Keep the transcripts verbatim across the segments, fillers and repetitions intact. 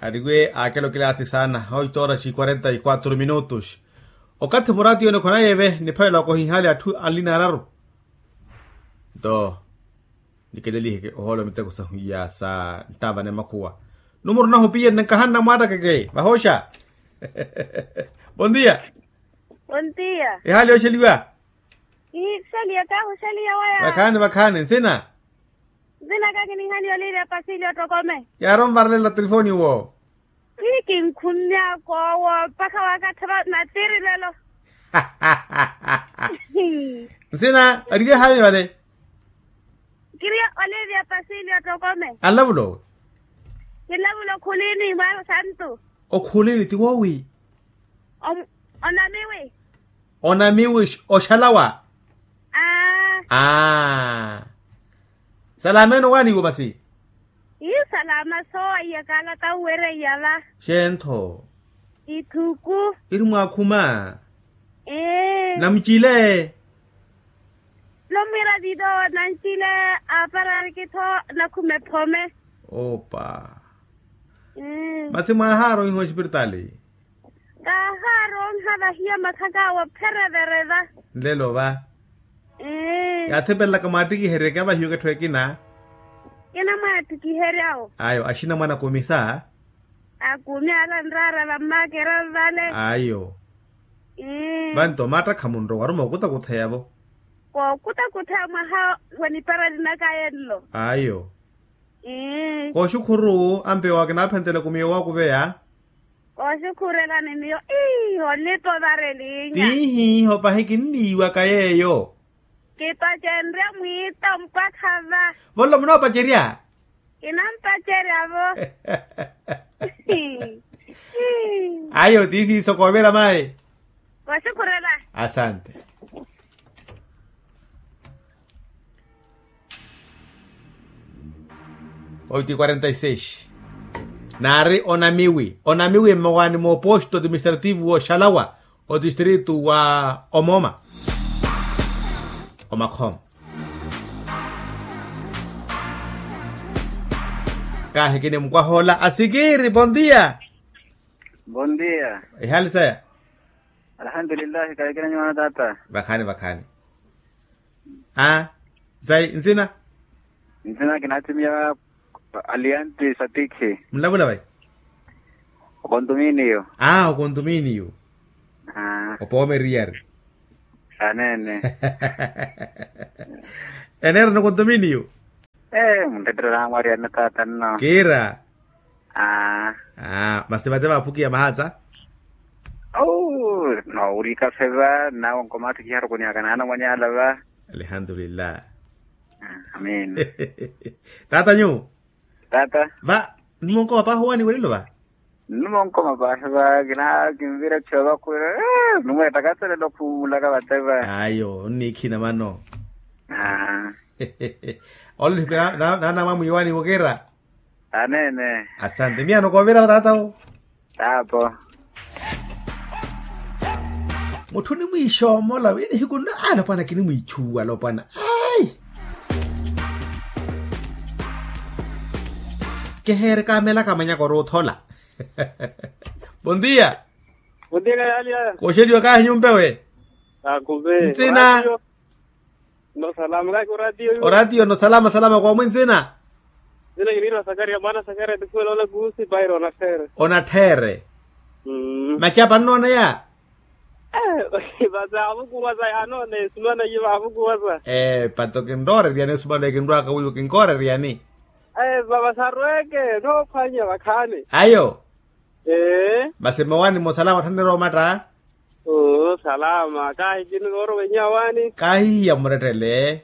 Ariwe akela okilaasi saana oito horas e quarenta e quatro minutos. Okathi muraatiyoni okhonayeve niphavela okohinhali atthu anlina araru. Nto nikeleliheke ohoolo miteko sahu iya sa nttavane makhuwa. Numuru nahu piyenne nkahanna mwattakeke vahosha. Bondia. Bondia. Ehali yosheliwa. Kihisalia kahusalia waya. Vakhaani vakhaani nsina. Nsina kakinihani oliria pasili otokome. Yaaronvarlela trifoni wo. Ii kinkhunnyakowo mpakha wakathava natiri lelo. Nsina oriwe hayi vale. Kiriya oliria pasili otokome. Anlavulo. Kinlavulo khulini mwaru santu. Okhulini ti wowi. Onamiwi. Onamiwi oxalawa. Aa. Salama eno waaniwo masi. Ii salama soowa iya kalata uwereiya va. Xentho. Ithuku. Iri mwaakhuma. Ee. Namucile. Nomwira vido nancile apararikitho. Nakhume phome. Opa. Masi mwaahaaro iho espiritaali. Kaahaaronha vahiya makhak'awe opherevereva. Nlelo va. Yaathipelelaka mwaattikiherye kavahiyo ketthu ekina. Kina mwaattikiherya-wo. Ayo axina mwana kumisa. Akumi ala nraara vammakera vale. Ayo. Vanto mattakha munrowa aruma okutakutheyavo. Kookutakutheya mwaha wa niparali naka yenlo. Ayo. Kooxukhuru ampewa kinaaphentela kumiyo wakuveya. Kooxukhurelani miyo ii olipa ovarelinya. Tiihiiho pahi kinniiwaka yeeyo. Kipacenrya mwiita mpakha va. Vonlo munoopacerya. Kinampaceryavo. Ayo tiisiiso koovira mayi. Koxukhurela. Asante. Oito e quarenta e seis. Naari onamiwi onamiwi mmawaani mooposto administrativu wooxalawa otistritu wa omoma. Omakhoma. Kaahikini mukwaha ola asikiri bondia. Bondia. Ihali saya. Alhamdulillahi kaahikini nyuwana tata. Vakhaani vakhaani. Aa. Sai nsina. Nsina kinaatimiya alianti satikhi. Munlavula vai? Okontuminiyo. Aa okontuminiyo. Opoome eriyari. Aneene. Eneera nokontuminiyo. Ee munretterela amwariyani tata nno. Kiira. Aa. Masi vate vaaphukiya mahatsa. Au. Noowurika feva nnawe onkomaatthi kiharukunihaka naana mwanyala va. Alhamdulillah. Amin. Tata nyu. Tata. Va. Nnumonkoma paahi owaniwelelo va. Nnumonkoma paahi va kina kinvira ttiyo vakhwira. Nnumo ettakaselelo khumulaka vate va. Ayo onniikhina mano. Aa. Olo nihiku naana mwamwiiwani wokira. Aneene. Asante miyano koovira va tata wo. Taapo. Mutthu onimwiixoomola wi nihiku nno alopwana kinimwiichuwa alopwana. Ai. Keheere kaamelaka manyaka ori othola. Bondia. Bondia kayaliya. Kooxeliwa kaahi nyumpewe. Ntsina. Nno salama kaaki oratiyo yu. Oratiyo nno salama salama koomwi nsina. Nsina kiniirwa sakaria mwaana sakaria tikhuwela ola kuusi paira onattheere. Onattheere. Macapa nnooneya. Vasi avukuwasa yaanoone esumana iye vaavukuwasa. Ee pato kinrooreriyani esumana ekinrwaka wiiwo kinkooreriyani. Vava sarweeke noophwanya vakhaani. Ayo. Ee. Masi mmawaani mwa osalama otthannerowa omatta. Oo salama kaahi kini noorowa inyawaani. Kaahihiya murettele.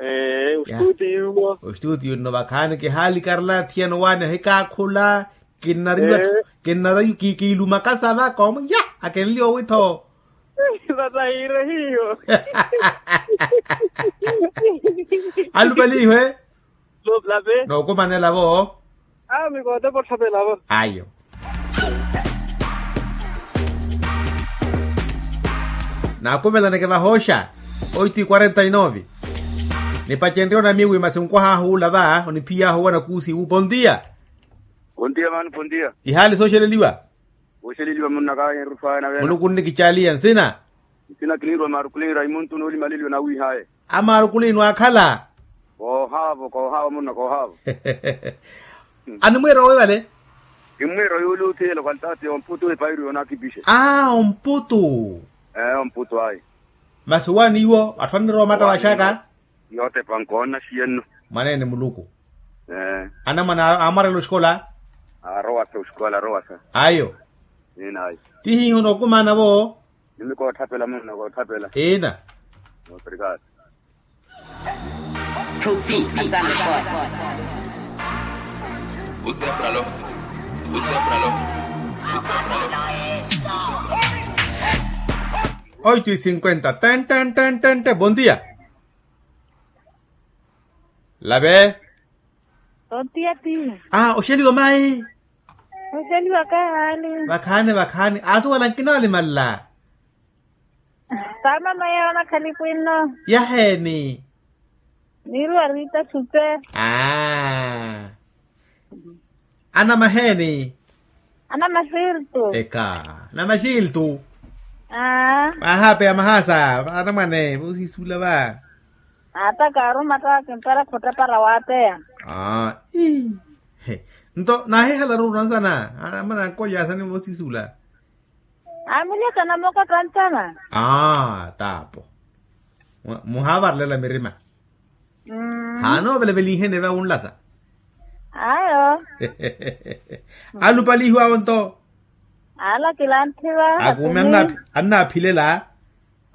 Ee ostuutiyo. Ostuutiyo nno vakhaani kihaali karala thiyana owaani ohikaakhula. Kinnariwa. Kinnariwa kiilumakasa va koomuya. Akenliya owi-tho. Vatahiire hiyo. Alupaliihwe. Nookumanela-vo. Ayo. Naakuvelaneke vahooxa. Oito e quarenta e nove. Nipacenrye onamiwi masi mukwahaahu ula va oniphiyaahu owana kuusi wu bondia. Pontiya mano pontiya. Ihaali sooxeleliwa. Wooxeleliwa munnakaya enrufwaya navena. Muluku nnikicaliya nsina. Nsina kiniirwa maarukulinyu raimuntu noolimaleliwa nawiihaye. Amaarukulinyu akhala. Koohaavo koohaavo munna koohaavo. Animwiira owi vale. Kimmwiira owi uli othiyela okhali taati omputu epairu yoonakipixe. Aa omputu. Ee omputu ayi. Masi owaani iwo atthu annirowa omata waxaka. Yotepa nkoona xiyenno. Mwaneene muluku. Anamwane aamwarela oxikola. Arowasa oxikola arowasa. Ayo. Tihiiho nookumaana vo. Nimi koothapela munna koothapela. Ina. Obrigado. Protein asante kwa. Você é pra lo. Você é pra lo. Você é pra lo. Oito e cinquenta ten ten ten ten ten bon dia. Lave. Tontiya ti. Ah oxeliwa mayi. Oxeliwa kahaali. Vakhaani vakhaani aasuwala nkinaalimanla. Taamama yawo nakhalipu inno. Yaheeni. Niiruwa riita supe. Aa. Anamaheeni. Anamaxiltu. Eka. Anamaxiltu. Aa. Vaahapeya mahaasa anamwane voosisula va. Ata kaaruma ata kimpara khutapara waateya. Aa. Nto naahihalaru oransana. Anamwane ankolyasani voosisula. Aamulya kanamoko tantana. Aa taapo. Muhaavarelela mirima. Haana ovelevelinhene va wunlasa. Ayo. Alupalihiwawo nto. Alakila anthiva akuumi. Annaaphilela.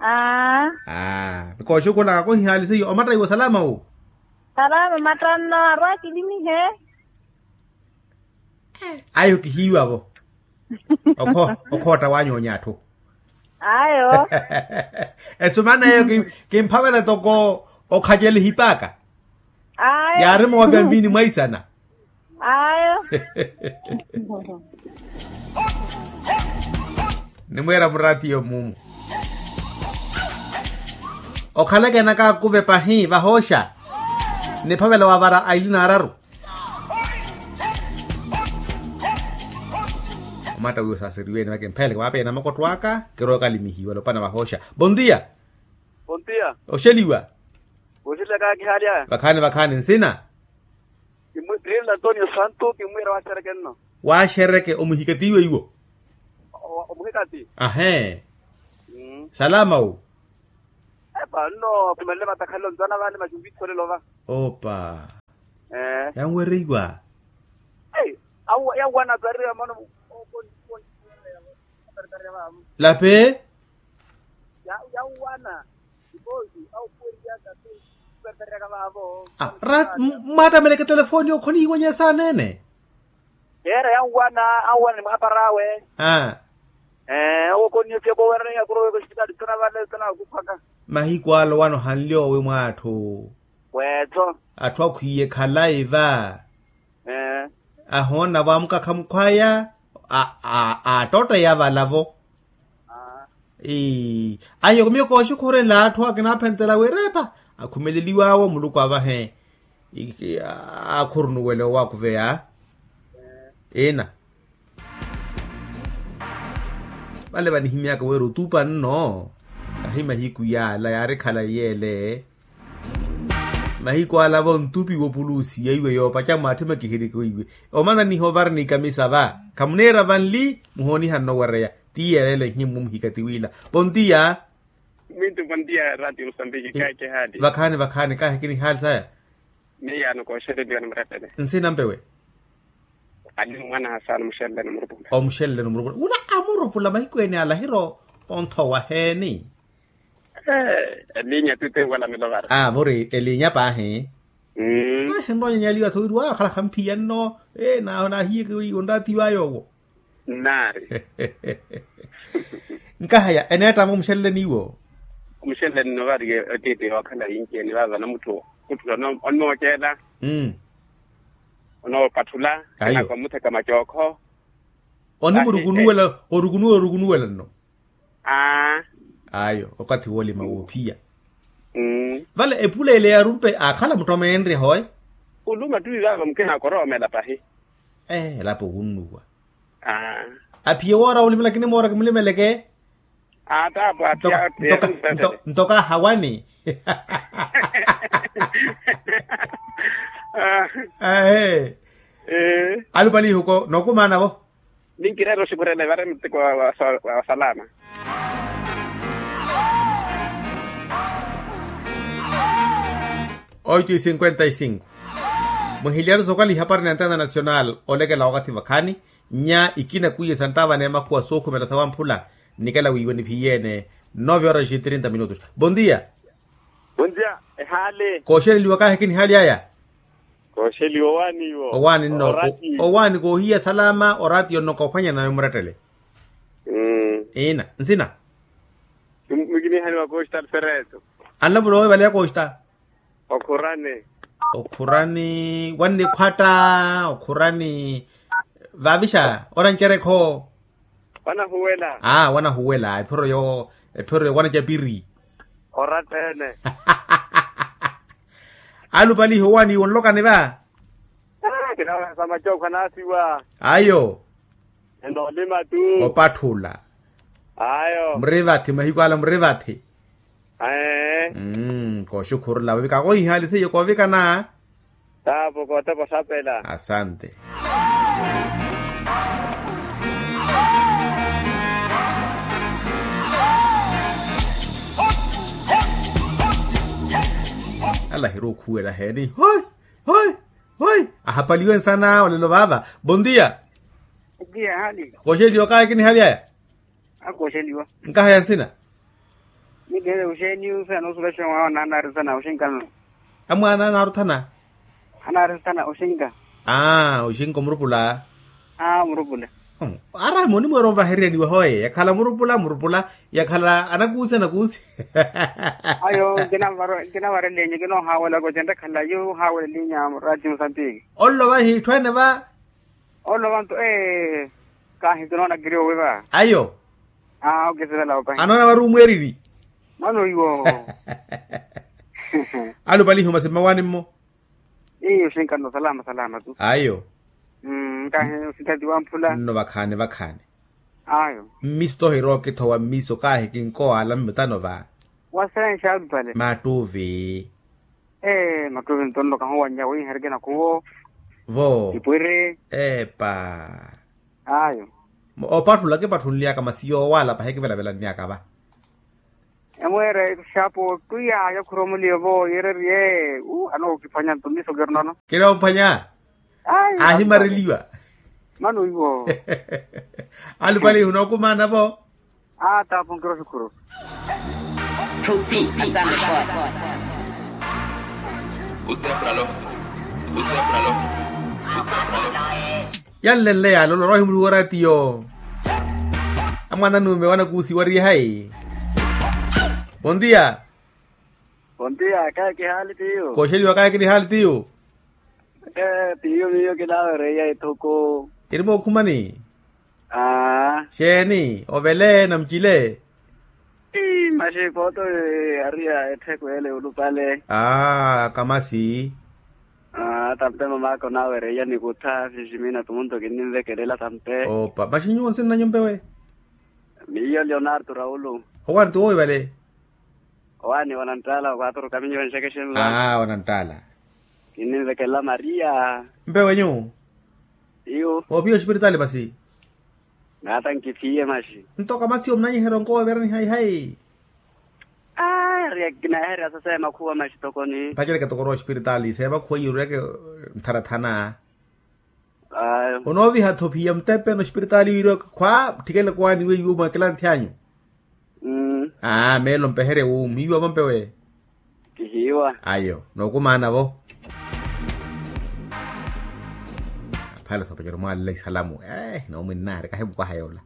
Aa. Aa. Kooxukhulaka kohihaali seiyo omatta iwo salama wu. Salama omattanno arwa akilimihe. Ayo kihiiwavo. Okhootta waanyoonya atthu. Ayo. Esumana eyo kimphavela toko okhacela ehipaaka. Yaari moovya nviini mwaisana. Ayo. Nimweera muraatiyo mumu. Okhaleke enaka akuve pahi vahooxa. Niphavela wavara aili naararu. Omatta wiwo saaseriwene vakempheleke vaapeya namokotto aka. Kirowa kalimihiwa lopana vahooxa. Bon dia. Bon dia. Oxeliwa. Oxeliwa kaakihaalyaya. Vakhaani vakhaani nsina. Kimmwiira antonio santu kimmwiira waaxereke nno. Waaxereke omuhikatiwe iwo. Omuhikati. Ahee. Salama wu. Epa nno akhumelele vatakhalelo ntwana vale maxumvikholelo va. Opa. Yanwereiwa. Yawwana tsarira mano. Lape. Yawwana. Mwattameleke telefoni okhonihiwanya esaana ene. Yeera yanwana anwana ni mwapar'awe. Aa. Owo khonniyo tiyapooweraniya khurowa ekosipitaali ttona vale ttona akuphwaka. Mahiku ale owano hanli owi mw'atthu. Weetho. Atthu akhwiiye khalayi va. Ahoona avo amukakha mukhwaya. Aattotta yavalavo. Ahiyo miyo kooxukhurela atthu akinaaphentela wirepa. Akhumeleliw'awo muluku avahe akhurunuwele owakuveya. Ina. Vale vanihimyaka wira otupa nno. Kahi mahiku yaala yaarikhala yeele. Mahiku ala vo ntupi wopulusiya iwe yoopaca mwaatthi makihiriki iwe. Omananiha ovara ni kamisa va. Khamuniira vanli muhooniha nno owereya. Ti yeeleele nhimu muhikati wila. Pontiya. Mintu pontiya ratio musambiki kahi kihaali. Vakhaani vakhaani kahi kinihaali saya. Miyaano kooxereliwa ni murepele. Nsina mpewe. Ali mwaana hasaana omuxeleleni omurupula. Omuxeleleni omurupula wula amurupula mahiku ene ala ahira onthowa heeni. Elinya tuti enwala milovara. Aa vori elinya paahi. Ahi nroonyanyaliwa tho wiri waakhala khamphiya nno. Naahiyeke onraatiwaya owo. Nnaari. Nkahaya eneettamo omuxeleleni iwo. Omuxeleleni nno vaari otiipi yookhala yinci eni vaava namutthu. Mutthu onooceela. Onoopattula. Ayo. Omutheka macookho. Onimurukunuwela orukunuwela orukunuwela nno. Aa. Ayo okathi woolima woophiya. Vale epuleele yaarumpe aakhala muttomeenrye hoe. Oluma ttuwi vaava mukina akoroomela pahi. Elapo wunnuwa. Aphiye woora wulimela kinimoora kimulimeleke. Ntoka hawani. Alupa lihuko nokumaana vo. Ninkireera oxukhurela evare muteko wa salama. Oito e cinquenta e cinco. Muhilyaru sokala ihapari na ntena nacional olekela wakathi vakhaani. Nya ikina kwiye santtava n'emakhuwa sookhumela sawamphula. Nikela wiiwe niphiyeene. Nove horas e trinta minutos. Bondia. Bondia. Ehaali. Kooxeleliwa kaahiki nihaali aya. Kooxeliwa owaani iwo. Owaani nno. Owaani koohiya salama oraati yonno koophwanya nawe murettele. Ina nsina. Mikinihaniwa kooxita alfereto. Anlavula owe vale ya kooxita. Okhurani. Okhurani wannikhwatta. Okhurani vaavixa onancerekho. Wanahuwela. Aa wanahuwela ephiro yo ephiro yo wanacapiri. Oratta ene. Alupalihi owaani iwo nlokani va. Kinawehesa macookho anaasiwa. Ayo. Enoolima tu. Opatthula. Ayo. Murivathi mahiku ala murivathi. Aee. Kooxukhurula vavika koohihaali seiyo koovikana. Taapo kootepa osapela asante. Alahiri okhuwela heeni hoi hoi. Hoi ahapaliwe nsana olelo vaava. Bondia. Kooxeliwa kaahiki nihaali aya. Akooxeliwa. Nkahaya nsina. Nikele oxeeni ufe anoosulexa mwaana anaari sana oxinka nno. Amwaana anaaruthana. Anaari sana oxinka. Aa oxinka omurupula. Aa omurupula. Araami onimweera onvahererya niwe hoye yakhala murupula murupula. Yakhala anakuusi anakuusi. Ayo nkinavareleenye kinoohaawelaka ocenrekhala yu ohaawelelinya raati musambiki. Ollo vahi itthu ene va. Olo vantu ee. Kahi kinoona kiri owi va. Ayo. Aa okisivela opahi anoona vari omweeriri. Mano iwo. Alupalihi omasi mmawaani mmo. Iyo xinkanno salama salama tu. Ayo. Kahi osinthatiwa mphula nno vakhaani vakhaani. Ayo. Mmiso tohira okithowa mmiso kahi kinkowaala mmitano va. Wasenxa alupale mattuvi. Ee mattuvi nto nno kahuwannya wiiha eri kinakhuwo. Vo ipwiri. Epa. Ayo. Opatthula kipatthunly'aka masi yoowaala pahi kivelavelanny'aka va. Emweera exapo twiya yakhuromoliyo vo yeereriye. Anookiphwanya nto mmiso kirinono. Kinoomphwanya. Ahimareliwa. Mano iwo. Alupalihu nookumaana vo. Aa taapo nkiro xukhuru. Yanlenle yaala olwa roohimuliwa oraatiyo. Amwaana nuume wanakuusiwa riye hayi. Bontiya. Bontiya kahi kihaali tiyo. Kooxeliwa kahi kinihaali tiyo. Ee tiyo miyo kinaawereiya ethuku. Eri mookhumani. Aa. Xeeni ovele namucile. Ii maxi kooto. Ariya ettheku ele olupale. Aa kamasi. Aa tampe mamaka onaawereiya nikutha siximina tumunto kinninvekelela tampe. Opa maxi nyuwo nsinanyu mpewe. Miyo leonardo raulu. Owaani ti woowi vale. Owaani wananttaala wa kwaaturu kaminyo enxeke xinla. Aa wananttaala. Kinninvekelela maria. Mpewenyu. Iyo. Oophiya oxipiritaali masi. Naata nkiphiye maxi. Nto kamatsiyo munanyiherya onkowa ovirani hayi hayi. Aa kinaherya sasa emakhuwa maxi tokoni. Mpacereke tokoni oxipiritaali seemakhuwa yiirweke. Ntharathana. Onooviha-tho phiya mutepe noxipiritaali wiiriwa khwa tthikele kowaani weiwo mweekela ntthi anyu. Aa meelo mpeherye wuumu hiiwa vampewe. Kihiiwa. Ayo nookumaana-vo. Aphale soopacero mwaalela isalamu. Noomwinnaari kahimukwaha yoola.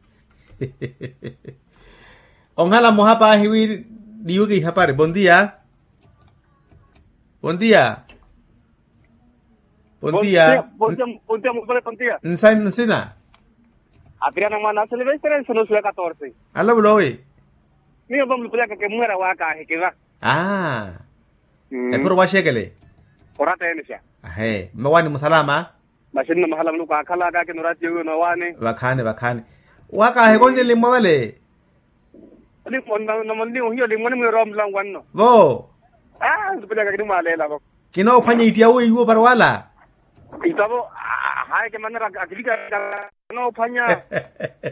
Onhala mmoha paahi wi niiweke ihapari bontiya. Bontiya. Bontiya. Bontiya. Nsina. Apirana mwana a silvestre nsono suya katorse. Alavula owi. Miyo vamulupulaka kemwera waka ahikiva. Aa. Epuro waxekele. Orata enexa. Ahe mmawaani musalama. Masi nno mahala muluku aakhalaka akina oratiyo wiwo noowaani. Vakhaani vakhaani. Wakaahi konlelimmwa vale. Nomonliwo hiyo limmwani mwiyo rowa mulanwanno. Vo. Aa ntupenyaka kinimwaleelavo. Kinoophwanya ittiya weiwo para wala. Itavo. Hayi kimanera akilika. Kinoophwanya.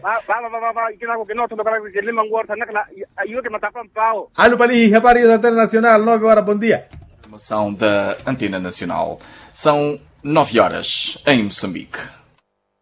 Vava vava vava ikinako kinootholoka. Kilimanguwa orthanakela. Iwe kimatapa mpawo. Alupalihi hepari internacional nove horas bom dia. Promoção da Antena Nacional. São nove horas em Moçambique.